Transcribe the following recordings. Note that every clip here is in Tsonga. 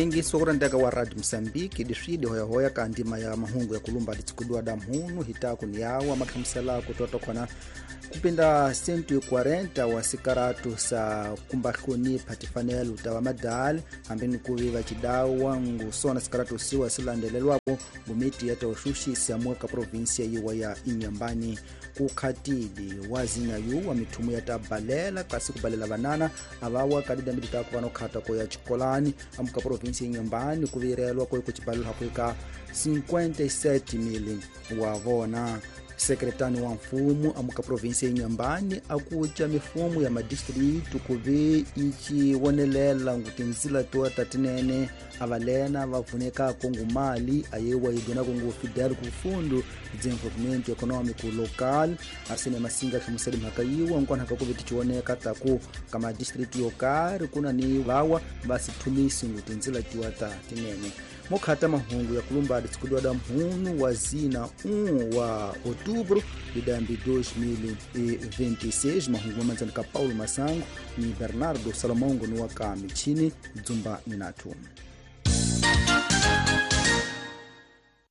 Yingiso kurendeka wa Radio Mosambiki diswidi hoyahoya ka ndima ya mahungu ya kulumba ditsukudiwa da mhunu hitaku ni yawa makhamusela kutotokhona kupinda 140 wa sikaratu sa kumbahlonipha tifanelo ta vamadali hambi ni kuvi va cidawa ngusona sikaratu siwa silandelelwako ngumiti ya tauxuxisa muka provinsia yiwa ya Inhambane. Kukhatili wazinya yu wa mithumu ya tabalela kasi kubalela vanana avawa kadidambi taku vanokhata ko ya chikolani amuka provinsia Inhambane kuvirelwa ko kucibalela kuika 57,000 wa vona. Sekretani wa mfumo amuka provinsia Inhambane akuca mifumo ya madistritu kuve ici wonelela ngutinzila toa tatinene avalena vavunekako ngumali ayewa idonako ngu Fidel ku Fundo Desenvolvimento Econômico Local. Arsene Masinga hlamusela mhaka yiwa nkwanhaka kuve ticioneka taku ka madistritu yo karhi kuna ni vawa va sithumisi ngutinzila tiwa ta tinene. Mokhata mahungu ya kulumba ditsikudiwa da mhunu wa zina 1 wa outubro de dambi 2026. Mahungu mamanzani ka Paulo Masango ni Bernardo Salomongo ni waka michini dzumba minatu.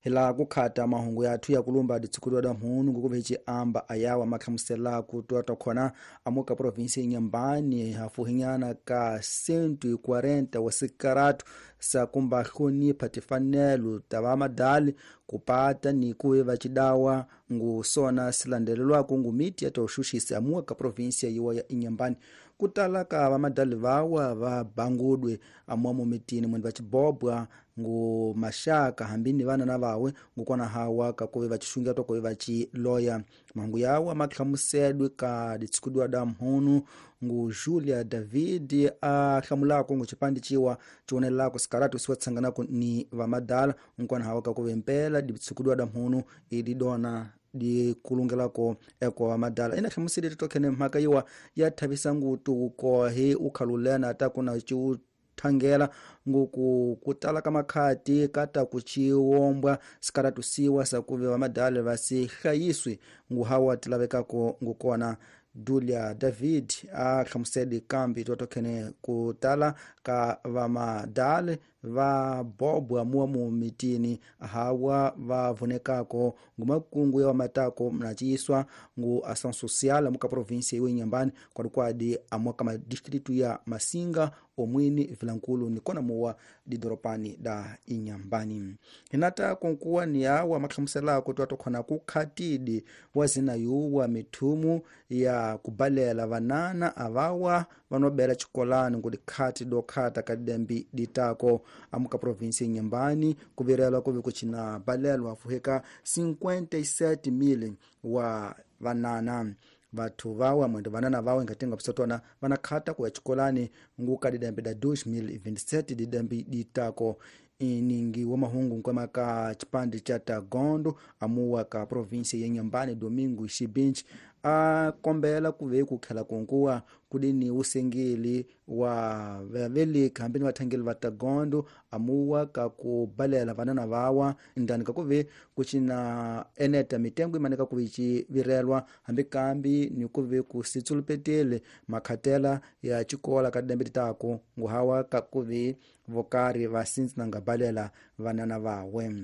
Hila kukhata mahungu yathu ya kulumba ditsikudiwa da mhunu ngukuve amba ayawa makhamusela kutoa tokhona amuka provinsia Inhambane hafuhinyana ka 140 wa sikaratu sa kumbahlonipha tifanelo ta vamadali kupata ni kuve vacidawa ngusona silandelelwako ngumiti ya tauxuxisa amuka ka provinsia yiwa ya Inhambane. Kutala ka vamadali vawa va bangudwe amuamu mitini mwene vacibobwa ngu maxaka hambi ni vana na vawe ngukona hawa kakuve vacixungia tokuve vaciloya. Mahungu yawa makhlamusedwe ka ditsikudiwa da mhunu ngu Julia David a hlamulako ngu cipandi ciwa cionelelako sikaratu siwa tsanganako ni vamadala nkwana hawa kakuve mpela ditsikudiwa da mhunu ididona dikulungelako eko vamadala. Ina hlamusele titokhene mhaka yiwa ya thavisa ngutu ukohe ukhalulena ta kuna ciu thangela nguku kutala ka makhati kata kuciwombwa sikaratu siwa sakuve vamadala va si hlayiswi nguhawa tilavekako ngukona. Dulia David a hlamusele kambi totokhene kutala ka vamadale va bobwa muamu mitini hawa va vunekako ngumakungu ya vamatako mnaciiswa ngu ação social amuka provinsia iwe Inhambane kwadikwadi amuaka madistritu ya Masinga omwini Vilankulu nikona muwa didoropani da Inhambane. Hinata konkuwa ni awa makhlamuselako toatokhona kukhatidi wazina yuwa mithumu ya kubalela vanana avawa vanobela chikolani ngudikhati dokhata kadidembi ditako amuka provinsia Inhambane kuvirelwa kuve kucina balelwa fuheka 57,000 wa vanana. Vathu vawe mwendo vanana vawe ngatenga pisotona vanakhata kuya chikolani nguka didambi da 2027 didambi ditako. Iningi wa mahungu nkwama ka chipande cha Tagondo amuwa ka provinsia ya Inhambane Domingo Xibinchi a kombela kuve kukhela kunkuwa kudini usengeli wa vaveleki hambi ni vathangeli va Tagondo amuwa ka kubalela vanana vawa ndani kakuve kucina eneta mitengo imanika kuve civirelwa hambi kambi ni kuve kusitsulupetele makhatela ya cikola ka didambi titako nguhawa kakuve vokari va sinzinanga balela vanana vawe.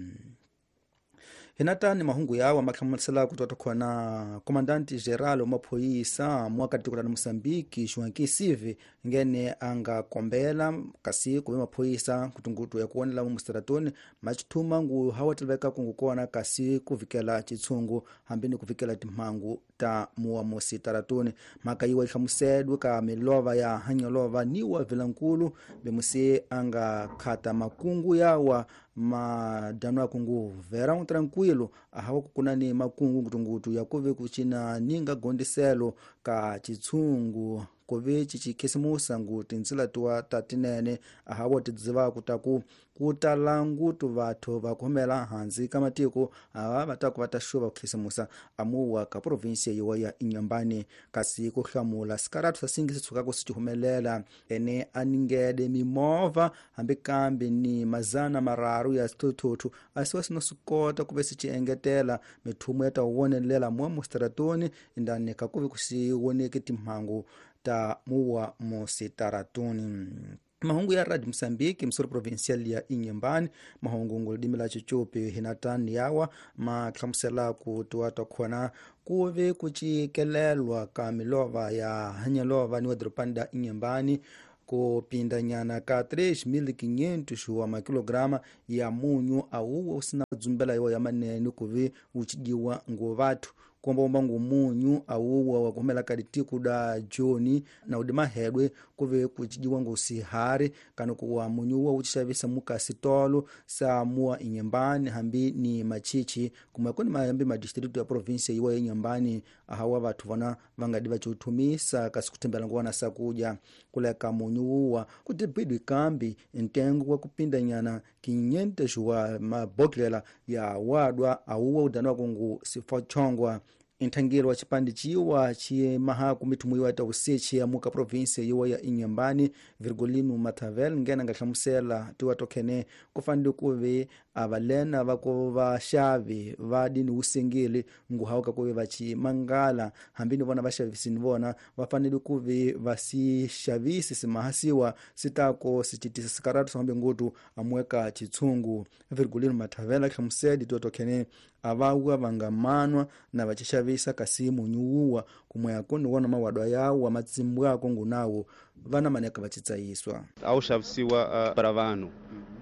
Hinata ni mahungu yawa makhamusela kutoka khona Comandante Geral wa maphoyisa mwaka tiko la Mosambiki Joaquim Sive ngene anga kombela kasi kuve maphoyisa kutungutu ya kuonela mustaratoni machithuma ngu hawa tilveka kungukona kasi kuvikela chitsungu hambi ni kuvikela timhangu ta muwa musitaratoni. Mhaka yiwa ihlamusedwe ka milova ya hanyolova niwa Vilankulu bemusi anga khata makungu yawa madano akungu verão tranquilo ahawa kukunani makungu ngutungutu yakuve kucina ninga gondiselo ka chitsungu kuve cicikhisimusa ngu tinzila tuwa tatinene ahawa tidzivaku taku kutala ngutu vathu vakhomela hansi ka matiko ava vataku va ta xuva kukhisimusa amuwa ka provinsia yiwa ya Inhambane. Kasi ku hlamula sikaratu sa singi sitshukako si cihumelela ene a ningede mimovha hambi kambi ni mazana mararu ya swithuthuthu asiwa sino swi kota kuve si ci engetela mithumu ya ta wonelela muwa musitaratoni indani ka kuve ku si woneki timhangu ta muwa musitaratoni. Mahungu ya Radio Mosambiki msuri provincial ya Inhambane, mahungu ngolidimi la Chichupi hinatani yawa mahlamusela ku tiwa khona kuve kucikelelwa ka milova ya hanyalova ni wa doropani da Inhambane kupindanyana ka 3.500 wa makilograma ya munyu awuwo usina dzumbela iwo ya manene kuve uchijiwa ngo vathu kombaomba ngu munyu awuwa wakuhumela kadi da joni na udi mahedwe kuve kuchijiwa ngu sihari kana kuwa munyu uwa uchixavisa mukasitolo sa muwa Inhambane hambi ni machichi kumwe kuni mahambi madistritu ya provinsia iwa ya Inhambane ahawa vathu vona vangadi vaciuthumisa kasi kuthembela nguwana sakuja kuleka munyu uwa kutibidwi kambi ntengo wa kupindanyana 500 wa mabodlela ya wadwa awuwa udaniwa kungu sifochongwa. Inthangelo wa chipande ciwa cimahaku mithumu iwa tausechi ya muka provinsia iwa ya Inhambane Virgolino Mathavel ngena nga hlamusela tiwa tokhene kufanele kuve avalena va ku vaxavi va dini wusengeli nguhawuka kuve vacimangala hambi ni vona vaxavisi ni vona va fanele kuve va si xavisi simahasiwa sitako sicitisa sikaratu sambe ngutu amueka chitshungu. Virgolino Mathavel hlamuseli tiwa tokhene avawa vangamanwa na vacixavisa kasi munyuwuwa kumwe akoni wona mawadwa yawo amatsimbwa ako ngunawo vana maneka vacitsayiswa a wu xavisiwa para vanhu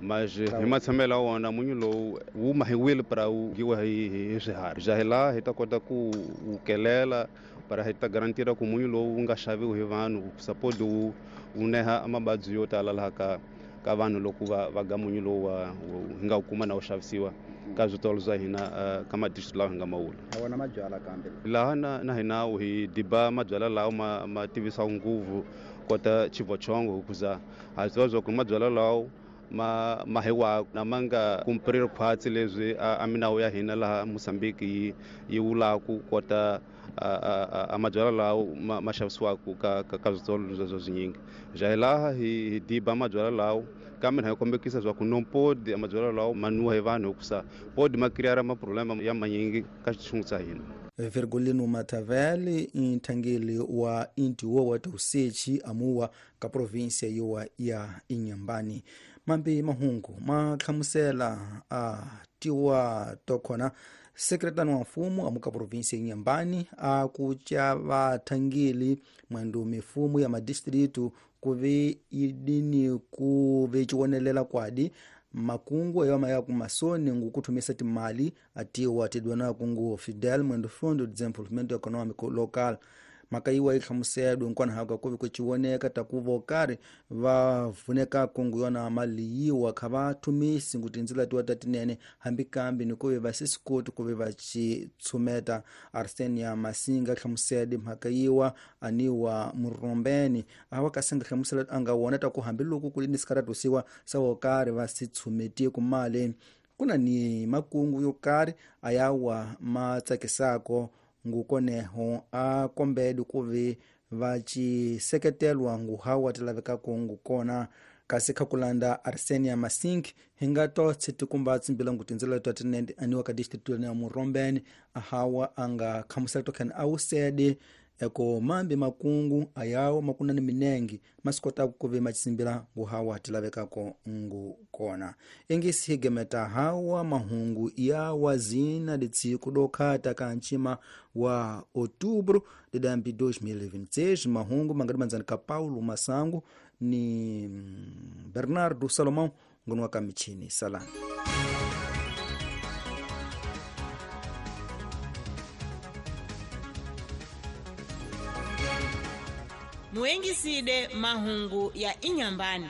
mas hi matshamelo ya wona munyu lowu wu mahiwile para wu dyiwa hi swiharhi ja hi laha hi ta kota ku wu kelela para hi ta garantira ku munyu lowu wu nga xaviwi hi vanhu suppose wu neha mavabyi yo tala laha ka vanhu loko va ga munyu lowu hi nga wu kuma na wu xavisiwa ka switolo swa hina ka madistrict lawa hi nga mawula wona mabyala kambe laha na hina hi diba mabyala lawa ma tivisaka nguvu kota chivochongo hikuza ha swi tiva swa ku mabyala lawa ma hiwaka na ma nga kumpriri khwatsi leswi a minawu ya hina laha Mozambique yi wulaku kota a mabyala lawa ma xavisiwaka ka switolo sweswo swinyingi ja hi laha hi diba mabyala lawa kambe hi kombekisa swa ku no podi mabyala lawa ma nwiwa hi vanhu hikusa podi ma kiriyara maproblema ya manyingi ka xitshungu xa hina. Virgolino Mathavel nthangeli wa intiwo wa tausechi amuwa ka provinsia yowa ya Inhambane. Mambi mahungu ma hlamusela a tiwa tokhona sekretani wa mfumo amuka provinsia ya Inhambane a kuca vathangeli mwendo mifumo ya madistritu kuve idini kuve ciwonelela kwadi makungu ayo maya kumasoni ngukuthumisa timali atiwa tidwana kungu Fidel mwendo Fundo de Desenvolvimento Econômico Local. Maka iwa ihlamuselwe nkwana haka kuve kuciwoneka takuva okari va vuneka kungu yona mali yiwa kha va thumisi ngu tindzila tiwa ta tinene hambi kambi ni kuve va sisikoti kuve va citshumeta. Arsenia Masinga hlamusele mhaka yiwa aniwa Murombeni awa kasinga hlamusela anga wona ta ku hambiloko ku ni sikaratusiwa sa okari va sitshumeti ku mali kuna ni makungu yo karhi ayawa ma tsakisako ngukoneho a kombedi kuve va ciseketelwa nguhawa ti lavekako ngukona. Kasi kha kulanda Arsenia Masink hi nga to tshitikumba tsimbila ngu tindzela twa tinene aniwa ka district ya Murombeni ahawa anga khamusela tokhani a wusede eko mambi makungu ayawo makuna ni minengi masikota kuve machitsimbila nguhawa ti lavekako ngukona. Ingisi higemeta hawa mahungu ya wazina litsiku dokhata ka nchima wa outubro de dambi 2026. Mahungu mangadi manzani ka Paulo Masango ni Bernardo Salomão ngono wa michini salani. Muengiside mahungu ya Inhambane.